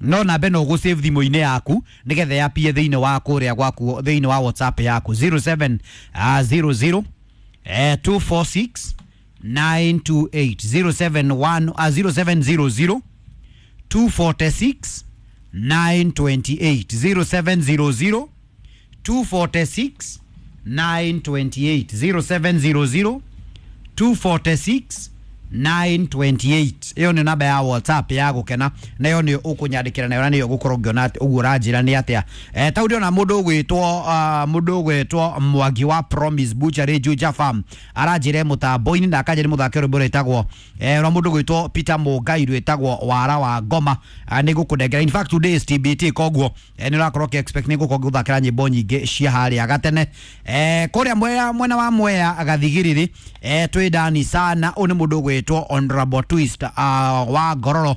No namba ĩno ũgũ save thimũ-inĩ yaku nĩgetha yapie thĩinĩ wa kũrĩa gwaku thĩinĩ wa WhatsApp yaku 07 00 246 928 071 0700 246 928 0700 246 928 0700 246 928. Ĩyo nĩ namba ya WhatsApp ya gũkena, na ĩyo nĩ ũkũnyandĩkĩra nayo na nĩyo ũgũkorwo ngĩona atĩ ũguo ũranjĩra nĩ atĩa. Tau ndĩrona mũndũ ũgwĩtwo mũndũ ũgwĩtwo Mwangi wa Promise Butchery Juja Farm aranjĩra mũtambo-inĩ na akanjĩra mũthake rwĩmbo rwĩtagwo rwa mũndũ ũgwĩtwo Peter Mũngai rwĩtagwo Wara wa Ngoma. Nĩ ngũkũnengera, in fact today is TBT, koguo nĩ ũrakorwo ũkĩ expect nĩ ngũkorwo ngĩgũthakĩra nyĩmbo nyingĩ cia harĩa gatene. Kũrĩa mwena wa Mwea Gathigiriri, twĩ ndani sana. Ũyũ nĩ mũndũ ũgwĩtwo Honorable Twist wa Ngororo,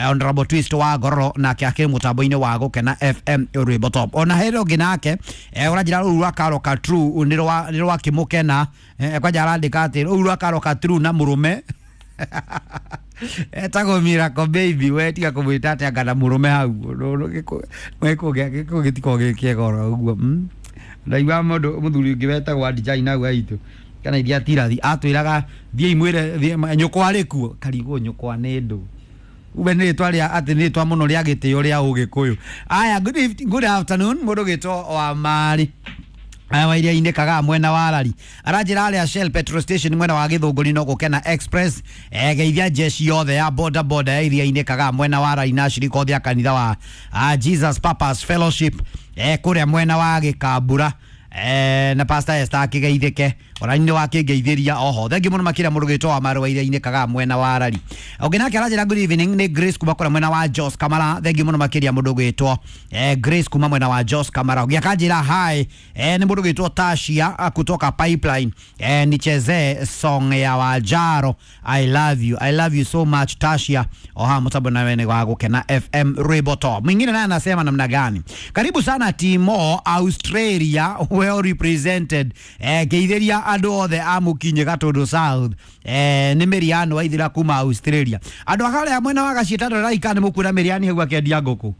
Honorable Twist wa Ngororo, nake akĩrĩ mũtambo-inĩ wa Gũkena FM rwĩmbo top. Ona hĩndĩ ũngĩ nake ũranjĩra rũu rwa Karo Katru nĩ rwa kĩmũkena. Kwanja arandĩka atĩ rũu rwa Karo Katru na mũrũme etagwo Miracle Baby, we tiga kũmwĩta atĩ anga na mũrũme hau gĩkũ gĩtikoragwo gĩ kĩega oro ũguo. Ndaigua mũndũ mũthuri ũngĩ wetagwo Adijai nau aitũ kana iria tirathi atwĩraga thiĩi mwĩre nyũkwa arĩ kuo, karigwo nyũkwa nĩ ndũ ube nĩ rĩtwa rĩa atĩ nĩ rĩtwa mũno rĩa gĩtĩo rĩa ũgĩkũyũ. Aya, good afternoon mũndũ ũgĩtwo wa Mari wa iria-inĩ Kagaa mwena wa Rari aranjĩra arĩa Shell petrol station mwena wa Gĩthũngũri no Gũkena Express. Geithia jeshi yothe ya boda boda ya iria-inĩ Kagaa mwena wa Rari na ashirika othe a kanitha wa Jesus Purpose Fellowship kũrĩa mwena wa Gĩkambura, na Pastor Esther akĩgeithĩke ona nĩ wakĩngeithĩria oho. Thengiũ mũno makĩria mũndũ gĩtwo wa Marũa iria-inĩ Kagaa mwena wa Rari. Ũngĩ nake aranjĩra good evening nĩ Grace kuma kũrĩa mwena wa Jos Kamara. Thengiũ mũno makĩria mũndũ gwĩtwo Grace kuma mwena wa Jos Kamara. Ũngĩ akanjĩra hi, nĩ mũndũ gwĩtwo Tashia kutoka Pipeline, nichezee song ya Wajaro I love you, I love you so much Tashia. Oha mũtambo nawe nĩ wa Gũkena FM rwĩmbo top. Mwingine naye anasema namna gani? Karibu sana Timo Australia, well represented. Geithĩria andũ othe a Mũkinyi Gatũndũ South. Nĩ Mĩriano waithira kuma Australia. Andũ akarĩa mwena wa Gaciĩtandũ raika nĩ mũkuona Mĩriani hau akĩendia ngũkũ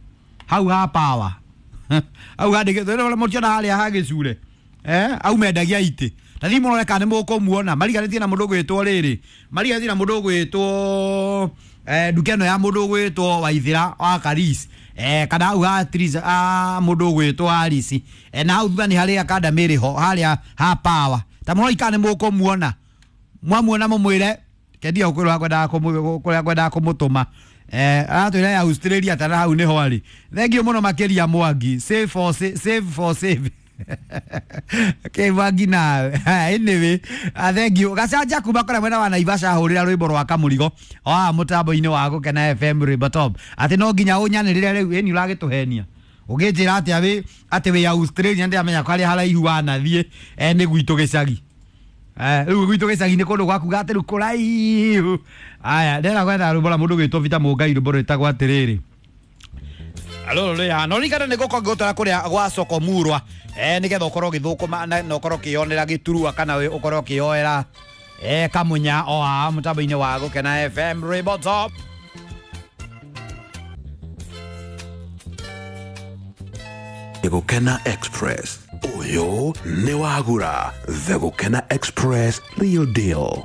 hau ha power hau handĩkĩtwo ũrĩa mũtiona harĩa ha gĩcure, au mendagia itĩ ta thiĩ mũrore kana nĩ mũkũmuona mariganĩtie na mũndũ ũgwĩtwo rĩrĩ, mariganĩtie na mũndũ ũgwĩtwo nduka ĩno ya mũndũ ũgwĩtwo Waithĩra wa Karis, kana hau ha Tris mũndũ ũgwĩtwo Arisi, na hau thutha nĩ harĩa kanda mĩrĩ ho harĩa ha power ta mũroi kana nĩ mũkũmuona, mwamuona mũmwĩre kendia kũrĩa kwendaga kũmũtũma. Aratwĩra ya Australia tana hau nĩho arĩ. Thengiũ mũno makĩria Mwangi, save for save, save for save. Okay, Mwangi nawe. Anyway, thengiũ gacanja kuma kũrĩa mwena wa Naivasha hũrĩra rwĩmbo rwa Kamũrigo o mũtambo-inĩ wa Gũkena FM rwĩmbo top atĩ no nginya ũnyanĩrĩre rĩu ĩni ũragĩtũhenia ũgĩnjĩra atĩa wĩ atĩ wĩ Australia ndĩramenya karĩa haraihu wanathiĩ nĩ gwitũ gĩcagi. Rĩu gwitũ gĩcagi nĩ kũndũ gwakuga atĩ rĩu kũraihu. Aya, ndĩrenda gwetha rwĩmbo rwa mũndũ ũgwĩtwo Peter Mũngai rwĩmbo rwĩtagwo atĩrĩrĩ Alolo rĩ no ririkana nĩ ngũkorwo ngĩgũtwara kũrĩa gwa soko murwa nĩgetha ũkorwo ũgĩthũkũma na ũkorwo ũkĩyonera gĩturwa kana ũkorwo ũkĩyoera kamunya o haha mũtambo-inĩ wa Gũkena FM rwĩmbo top. Gũkena Express ũyũ nĩ wagura The Gũkena Express Real Deal.